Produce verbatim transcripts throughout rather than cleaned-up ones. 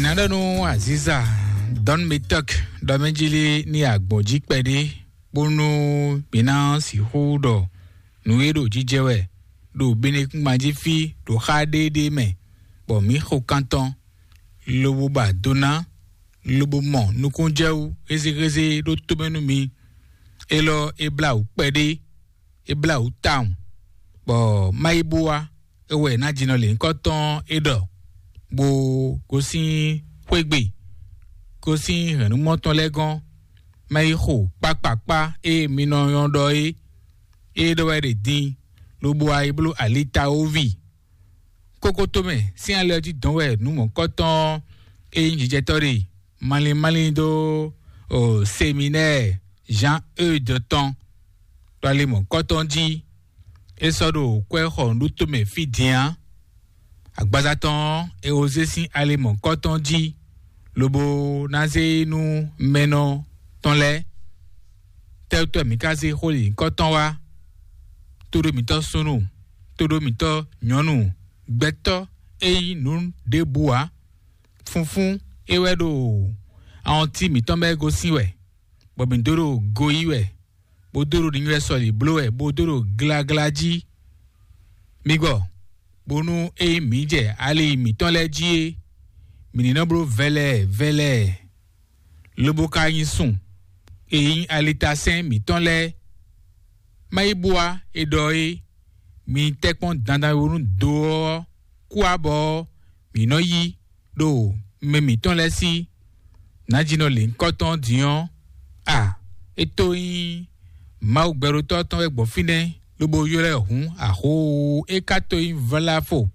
Aɖɔnu Aziza Don Metok ɖɔ mɛ jí lé ní agbɔn jí kpɛɖé, bónú mǐ ná sixú ɖɔ nǔ e ɖo jijɛ wɛ ɖo Benekúngban jí fí ɖo xá ɖéɖé mɛ, bɔ mǐ xo kan tɔn, lobo ba do ná, lobo mɔ nukúnjɛwú hézéhézé ɖó tómɛ nú mi. Élɔ́ é blá wǔ kpɛɖé, é blá wǔ tawun, bɔ má yi bó wá, é wɛ ná jinɔ lě nyǐkɔ tɔn é ɖɔ, bó gosín xwé gbe, gosín hɛ̌nnumɔ tɔn lɛ́ɛ gɔ́n, má yi xo kpákpakpá e mi nɔ nyɔ́ ɖɔ é, é ɖɔ wɛ ɖe din, lobo wá yi bló alitawoví. Kókó tomɛ sín alɛ ɔ́ jí dɔn wɛ nǔ mɔ̌kɔtɔn e nyí jijɛtɔ́ ɖe malín malín dó o seminɛ́ɛ Jean Eude tɔn ɖo ali mɔ̌kɔtɔn jí. É sɔ́ ɖo kwɛ́ xɔ nǔɖuto mɛ fí din ǎ. Agbaza tɔn ɔ́, è wǒ zé sín ali mɔ̌kɔtɔn jí, lobo ná zé nú mɛnɔ tɔn lɛ́ɛ. Tɛ́wútɔ́ mǐ ka zé xó lǐnkɔ́tɔn wá? Tóɖó mǐtɔn súnnu, tóɖó mǐtɔn nyɔ̌nu, gbɛtɔ́ e nyí nǔ ɖěbǔ ǎ. Funfún é wɛ ɖo awɔntín mǐtɔn mɛ gosín wɛ, bɔ mǐ dó ɖo go yí wɛ, bó dó ɖo nínywɛ́ sɔlǐ bló wɛ, bó dó ɖo glagla jí. Mi gɔ, bónú ényí mǐ jɛ ali mǐtɔn lɛ́ɛ jí é, mǐ ní nɔ bló vɛlɛɛ vɛlɛɛ, lobo ka nyi sun e nyí alitasɛ́n mǐtɔn lɛ́ɛ. Má yi bú wá è ɖɔ é, mi tɛ́kpɔ́n dandan e wú nú do ɔ́ kú abɔ ɔ́, mǐ nɔ yí ɖo mɛ mǐtɔn lɛ́ɛ sí. Nǎjínɔ lěhunkɔtɔn din ɔ́, a é tó nyí Mawu gbɛɖótɔ́ tɔn wɛ gbɔn fínɛ́, lobo ylɔ́ ɛ hǔn axó, é ka tó nyí vláfo.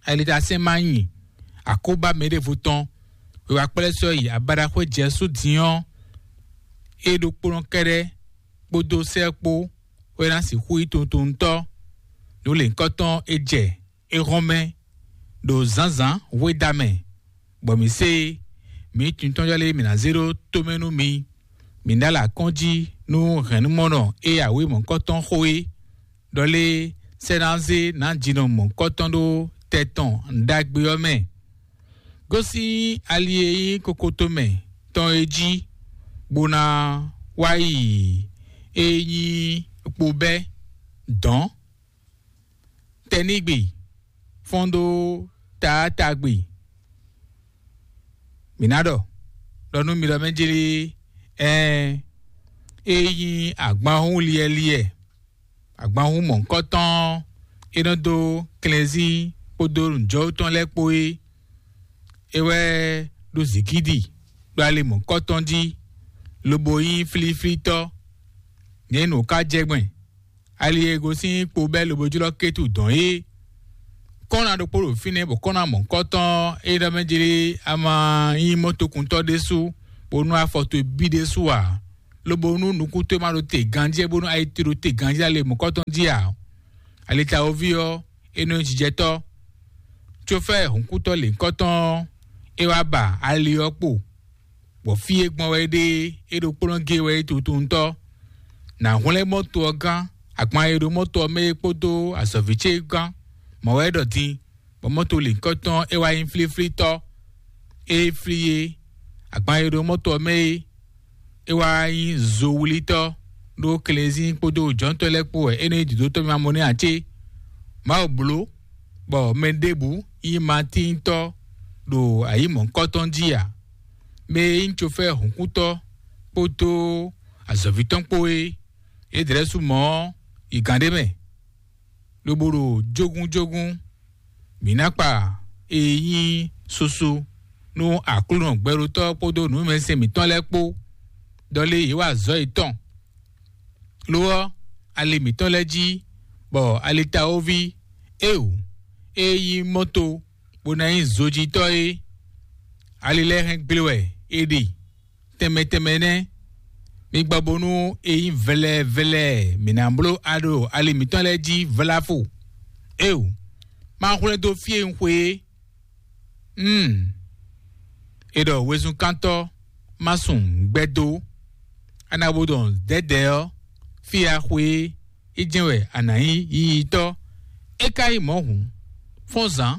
Alitasɛ́n ma nyi akóbá mɛɖěvo tɔn, è wá kplɛ́ sɔ́ yi abaɖaxwé Jɛsu din ɔ́, é ɖokpónɔ kɛ́ɖɛ́ kpódó sɛ́ kpó wɛ ná sixú nyí tuntuntɔ́. Nǔ lěhunkɔtɔn é jɛ é hɔn mɛ ɖo zǎnzǎn hwéda mɛ, bɔ mǐ se mǐ tuntɔ́njɔ lɛ́ɛ mǐ ná zé ɖó tomɛ nú mi. Mǐ ná lɛ akɔ́n jí nú hɛ̌nnumɔnɔ e awě mɔ̌kɔtɔn xo é, ɖɔ lé sɛ́ ná zé nǎjínɔ mɔ̌kɔtɔn ɖó tɛ tɔn ɖagbe ɔ́ mɛ. Gosín ali e nyí kokoto mɛ tɔn é jí, bó ná wá yi e nyí kpobɛ́ dɔ̌n, tɛnígbe, fɔ́n ɖó taátagbe. Mǐ ná ɖɔ, ɖɔ nú mi ɖɔ mɛ jlí, ɛɛ, e nyí agbanhún liɛliɛ, agbanhún mɔ̌hunkɔtɔn, é nɔ dó klɛnzín kpódó nǔjɔwú tɔn lɛ́ɛ kpó é. É wɛ ɖó zǐgídi ɖo ali mɔ̌kɔtɔn jí, lobo nyí flíflítɔ́. Nyɛ nǔ ka jɛ gbɛn, ali e gosín kpo bɛ́ lobo jlɔ́ kétu dɔn é. Kɔ́nna ɖokpó ɖo fínɛ́, bɔ kɔ́nna mɔ̌kɔtɔn é ɖɔ mɛ jlé a ma nyí mɔtokuntɔ́ ɖésú, bónú afɔ towe bí ɖésú ǎ, lobo nú nukún towe ma ɖo te ganjí, bónú ayi towe ɖo te ganjí ale mɔ̌kɔtɔn jí ǎ. Alitawoví ɔ́, é nɔ nyí jijɛtɔ́. Cófɛ́ hǔnkútɔ́ lěhunkɔtɔn ɔ́, é wá ba ali ɔ́ kpo, bɔ fí e gbɔn wɛ é ɖe é ɖokpónɔ gé wɛ é tutuntɔ́. Nǎ hwlɛ́n mɔto ɔ́ gán, agban e ɖo mɔto ɔ́ mɛ é kpódó azɔ̌ví ce gán. Mɔ̌ wɛ é ɖɔ din, bɔ mɔto lǐnkɔtɔn é wá nyí flíflítɔ́. Ée flí é, agban e ɖo mɔto ɔ́ mɛ é, é wá nyí zowlítɔ́ ɖó klenzín kpódó jɔ̌ntɔ́ lɛ́ɛ kpó wɛ é nɔ nyí dǐdótɔ́ mimamɔnɛ́ ǎ cé? Mawu bló bɔ mɛ ɖěbǔ nyí matíntɔ́ ɖo ayǐ mɔ̌hunkɔtɔn jí ǎ. Mɛ e nyí cofɛ́ hǔnkútɔ́ kpódó azɔ̌ví tɔn kpó é, é dlɛ́ sú mɔ̌ ɔ́, yi gǎn ɖé mɛ, lobo ɖo jógúnjógún. Mǐ ná kpa e nyí susu nú Aklúnɔ gbɛɖótɔ́ kpódó nǔmɛsɛn mǐtɔn lɛ́ɛ kpó, ɖɔ lé yě wa azɔ̌ yětɔn. Lo ɔ́, ali mǐtɔn lɛ́ɛ jí, bɔ alitawoví éwǔ e nyí mɔto bó ná nyí zojitɔ́ é, ali lɛ́ɛ hɛn gble wɛ è ɖe tɛnmɛ tɛnmɛ nɛ́. Mi gbɔ bónú e nyí vlɛvlɛ mǐ ná bló aɖo ali mǐtɔn lɛ́ɛ jí vlafo. Éwǔ, ma hwlɛ́n dó fí e un xwe é. Hmm. È ɖɔ wezunkántɔ́ má sun gbɛ́ dó. A nǎ bo ɖɔ dɛ̌dɛ̌ ɔ́, fí e a xwe é, é jɛ́n wɛ a nǎ nyí yiyitɔ́. É ka nyí mɔ̌ hǔn, fɔ́n zǎn,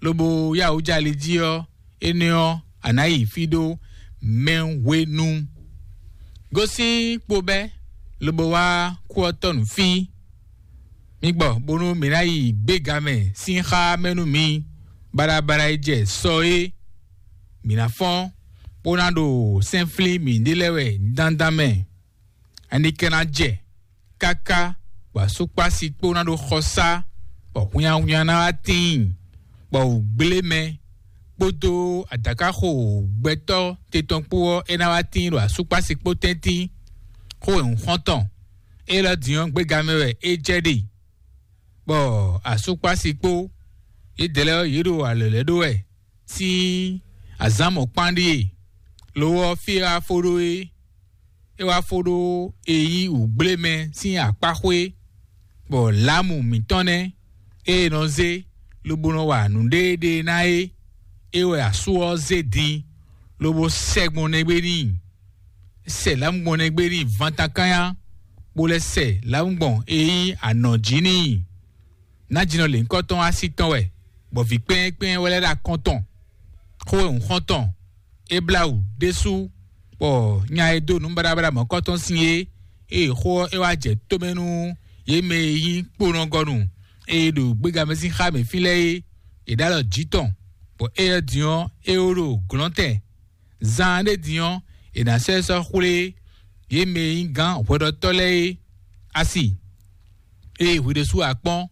lobo yá wǔ jɛ ali jí ɔ́, énɛ́ ɔ́, a nǎ yi fí ɖó mɛ hwenu. Gosín kpo bɛ́, lobo wá kú ɔ́ tɔ́ nǔ fí. Mi gbɔ bónú mǐ ná yi gbéga mɛ sín xá mɛ nú mi, baɖabaɖa e jɛ sɔ é. Mǐ ná fɔ́n, bó ná ɖo sɛ́nflín mǐɖée lɛ́ɛ wɛ dandan mɛ. Ani ka ná jɛ káká bɔ asúkpási kpó ná ɖo xɔsá, bɔ hwinnyahwinnya ná wá tíin, bɔ wǔgblé mɛ kpódó adǎkáxo gbɛtɔ́ te tɔn kpó ɔ́, é ná wá tíin ɖo asúkpási kpó tɛ́ntin. Xó e un xɔ́n tɔn, é lɔ din ɔ́, gbéga mɛ wɛ é jɛ ɖe, bɔ asúkpási kpó yědɛɛ lɛ́ɛ ɔ́, yě ɖo alɔ̌ lɛ́ɛ ɖó wɛ sín azǎn mɔ̌kpán ɖíe. Lo ɔ́, fí e wá fó ɖó é, é wá fó ɖó e nyí wǔgblé mɛ sín akpáxwé, bɔ lǎmu mǐtɔn nɛ́ e è nɔ zé lobo nɔ wa nǔɖéeɖée ná é, é wɛ asú ɔ́ zé din, lobo sɛ gbɔn nɛgbé n'i. Sɛ lǎmu gbɔn nɛgbé n'i vantankányá, bó lɛ́ sɛ lǎmu gbɔn e nyí anɔ̌ jí n'i. Nájínɔ lěhunkɔtɔn así tɔn wɛ, bɔ vǐ kpɛ́ɛ́kpɛ́ɛ́ wɛ lɛ́ ɖo akɔn tɔn. Xó e un xɔ́n tɔn, é blá wǔ ɖésú, bɔ nya e dó nǔ baɖabaɖa mɔ̌kɔtɔn sín é, ée xó ɔ́ é wá jɛ tómɛ nú yě mɛ e nyí kponɔgɔnu e ɖo gbégamɛ sín xá mǐ fínlɛ́ é, è ɖó alɔ jǐ tɔn, bɔ éyɛ́ din ɔ́, é wó ɖo glɔ̌ntɛn. Zaan ɖé din ɔ́, è nǎ sɔ́ ɛ sɔ́ xwlé yě mɛ e nyí gǎn hwɛɖɔtɔ́ lɛ́ɛ é. Asi, ée hwi ɖésú a kpɔ́n,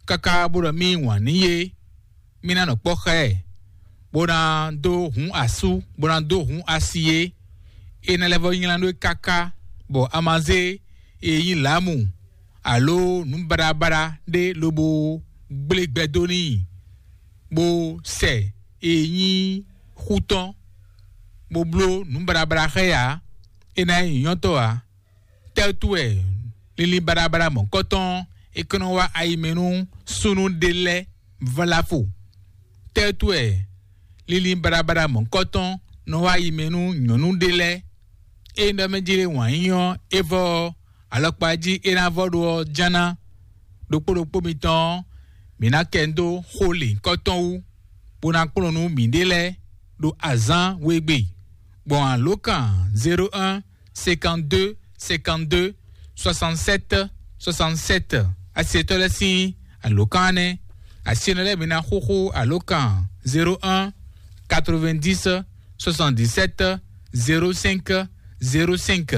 káká bó ɖɔ mì wǎn n'i é, mì ná nɔ kpɔ́ xá ɛ, bó ná dó hǔn asú, bó ná dó hǔn asi é. É ná lɛ́ vɔ́ nylá nú é káká, bɔ a ma zé e nyí lǎmu alo nǔ baɖabaɖa ɖé lobo gblé gbɛ dó n'i, bó sɛ e nyí xú tɔn, bó bló nǔ baɖabaɖa xá ɛ ǎ. É ná nyí nyɔ̌tɔ́ ǎ. Tɛ́ wútu wɛ linlin baɖabaɖa mɔ̌kɔtɔn é kɔn nɔ wá ayi mɛ nú súnnu ɖé lɛ́ɛ vlafo? Tɛ́ wútu wɛ linlin baɖabaɖa mɔ̌kɔtɔn nɔ wá ayi mɛ nú nyɔ̌nu ɖé lɛ́ɛ? Ée ɖɔ mɛ jlé wǎn yí ɔ́, é vɔ ɔ́, alɔkpa jí é ná vɔ ɖó ɔ́ ján ná. Ɖokpó ɖokpó mitɔn ɔ́, mǐ ná kɛ dó xó lěhunkɔtɔn wú, bó ná kplɔ́n nú mǐɖée lɛ́ɛ ɖo azǎn wegbe, gbɔn alǒkan zéro un cinquante-deux cinquante-deux soixante-sept soixante-sept. Asiɛtɔ́ lɛ́ɛ sín alǒkan nɛ́. Asiɛnɔ lɛ́ɛ mi ná xúxú alǒkan zéro un quatre-vingt-dix soixante-dix-sept zéro cinq zéro cinq.